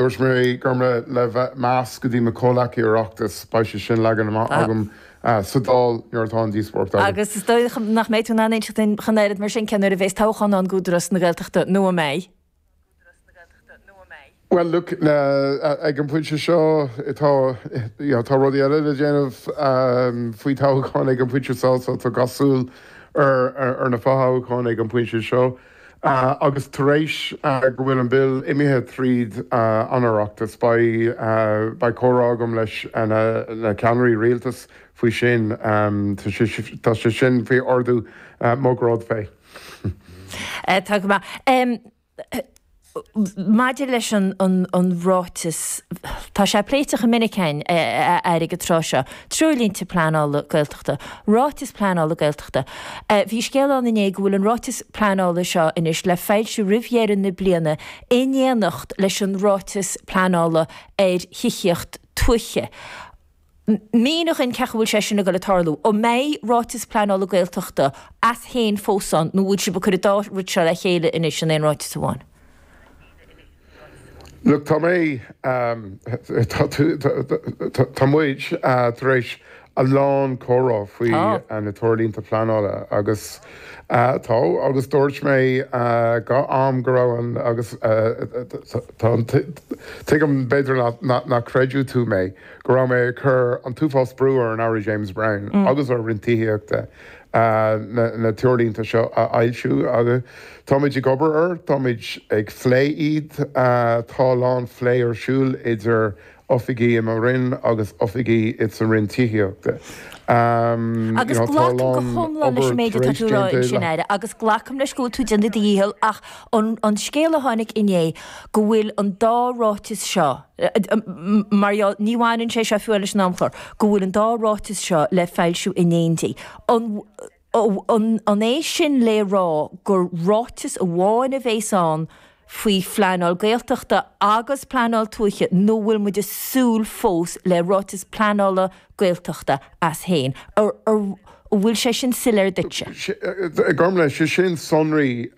Dúirt mé Gormfhlaith le meas go dtí mo chomhleacaí Oireachtais, beidh sé sin leagan amach agam sa Dáil nuair atá an díospóireacht agam. Agus is dóigh nach mbeidh tú in ann inseacht dúinn ach an oiread mar sin cén uair a bheas toghchán ann d'Údarás na Gaeltachta nó an mbeidh? Bhuel, look, ag an bpointe seo tá, you know, tá rudaí eile le déanamh faoi toghchán ag an bpointe seo so tá gach súil ar ar na fothoghcháin ag an bpointe seo. Agus tar éis go bhfuil an Bill imithe tríd an Oireachtas, beidh beidh comhrá agam leis na ceannairí rialtais faoi sin. Tá sé sin faoi ordú mo ghrád féin. Tá go maith. Maidir leis an ráiteas, tá sé pléite chomh minic againn, a Aire, ag an tráth seo, treoirlínte pleanála Gaeltachta, ráiteas pleanála Gaeltachta. Bhí scéal ann inné go bhfuil an ráiteas pleanála seo anois le foilsiú roimh dheireadh na bliana in éineacht leis an ráiteas pleanála ar thithíocht tuaithe. Mínigh dhúinn cén chaoi a bhfuil sé sin ag dul ag tarlú. An mbeidh ráiteas pleanála Gaeltachta as féin fós ann nó bhfuil sibh ag cur an dá rud seo le chéile anois in aon ráiteas amháin? Look, tá mé, tá tú, tá muid tar éis a lán comhrá faoi na treoirlínte pleanála agus tá, agus dúirt mé gach am go raibh an, agus tá an, tuigim b'fhéidir nach gcreidfidh tú mé, go raibh mé ag cur an t-uafás brú ar an Aire James Browne agus ar Roinn Tithíochta na treoirlínte seo a fhoilsiú agus táimid ag obair air, táimid ag phlé iad, tá a lán phlé ar siúl idir oifigí i mo Roinn agus oifigí sa Roinn Tithíochta. Agus glacaim go hiomlán leis an méid atá tú a rá ansin, Aire, agus glacaim leis go bhfuil tú ag déanamh do dhícheall ach an scéal a tháinig inné go bhfuil an dá ráiteas seo, Mar gheall, ní bhaineann sé seo fiú leis an amchlár, go bhfuil an dá ráiteas seo le foilsiú in éindí. An é sin le rá gur ráiteas amháin a bhéas ann faoi phleanáil Gaeltachta agus pleanáil tuaithe nó bhfuil muid ag súil fós le ráiteas pleanála Gaeltachta as féin? An bhfuil sé sin soiléir duitse? Gormfhlaith, sé sin sonraí,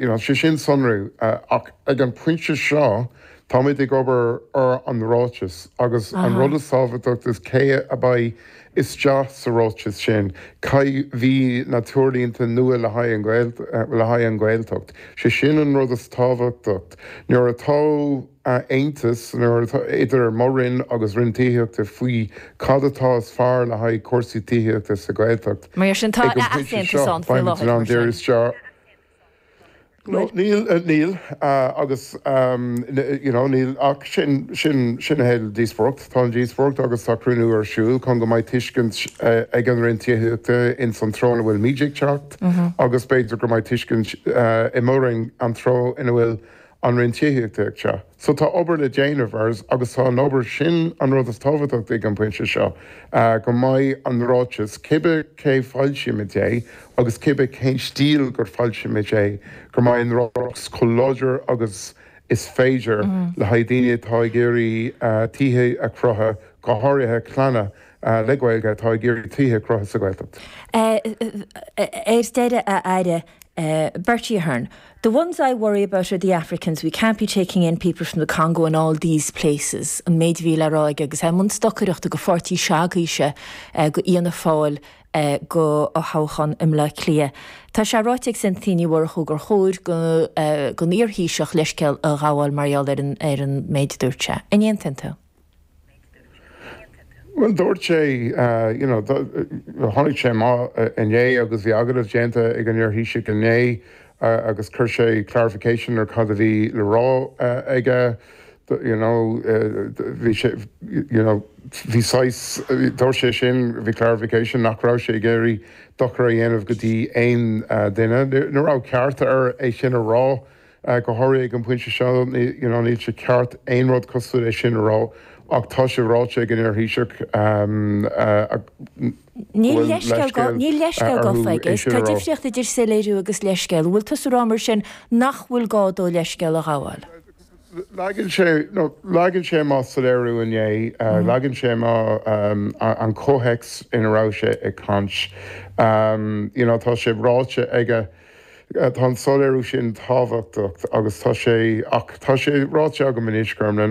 you know, sé sin sonrú ach ag an pointe seo Táimid ag obair ar an ráiteas agus an rud is tábhachtach is cé a beidh isteach sa ráiteas sin, cé bhí na treoirlínte nua le haghaidh le haghaidh an Ghaeltacht. Sé sin an rud is tábhachtach. Nuair atá aontas nuair atá idir mo Roinn agus Roinn Tithíochta faoi cad atá is fearr le haghaidh cúrsaí tithíochta sa Ghaeltacht Mar sin tá ag an pointe easaontas seo ann faoi beimid in láthair ann mar sin. díriú isteach No, níl, níl, agus, you know, níl ach sin, sin, sin a théid díospóireacht. Tá an díospóireacht agus tá cruinniú ar siúl chun go mbeidh tuiscint ag an Roinn Tithíochta ins an treo ina bhfuil muid ag teacht agus b'fhéidir go mbeidh tuiscint i mo Roinn an treo ina bhfuil an Roinn Tithíochta ag teacht. So tá obair le déanamh agus tá an obair sin an rud is tábhachtach ag an bpointe seo, go mbeidh an ráiteas, cibé cé foilsímid é agus cibé cén stíl gur foilsímid é, go mbeidh an ráiteas chomh láidir agus is féidir le haghaidh daoine atá ag iarraidh tithe a chruthú, go háirithe clanna le Gaeilge atá ag iarraidh tithe a chruthú sa Ghaeltacht. Ar deireadh, a Aire, Bertie Ahern, The ones I worry about are the Africans, we can't be taking in people from the Congo and all these places, an méid a bhí le rá aige agus é i mbun stocaireachta do pháirtí s'agaibhse, do Fhianna Fáil, do thoghchán i mBleá Cliath. Tá sé ráite ag Cynthia Ní Mhurchú gur chóir don iar-Thaoiseach leithscéal a ghabháil mar gheall ar an méid a dúirt sé. An aontaíonn tú? Bhuel, dúirt sé, you know, tháinig sé amach inné agus bhí agallamh déanta ag an iar-Thaoiseach inné agus chuir sé clarification ar cad a bhí le rá aige, you know, bhí sé, you know, bhí saghas, dúirt sé sin, bhí clarification nach raibh sé ag iarraidh dochar a dhéanamh go dtí aon duine. Ní raibh ceart air é sin a rá. Go háirithe ag an bpointe seo, you know, níl sé ceart aon rud cosúil leis sin a rá ach tá sé ráite ag an iar-Thaoiseach go Níl bhfuil leithscéal leithscéal níl leithscéal orthu gafa aige. é sin Tá a rá. difríocht idir soiléiriú agus leithscéal. An bhfuil tusa ag rá mar sin nach bhfuil gá dó leithscéal a ghabháil? Leagann sé, no, leagann sé amach soiléiriú inné, leagann sé amach an comhthéacs ina raibh sé ag caint. You know, tá sé ráite aige. Tá an soiléiriú sin tábhachtach agus tá sé, ach tá sé ráite agam anois, Gormlaith.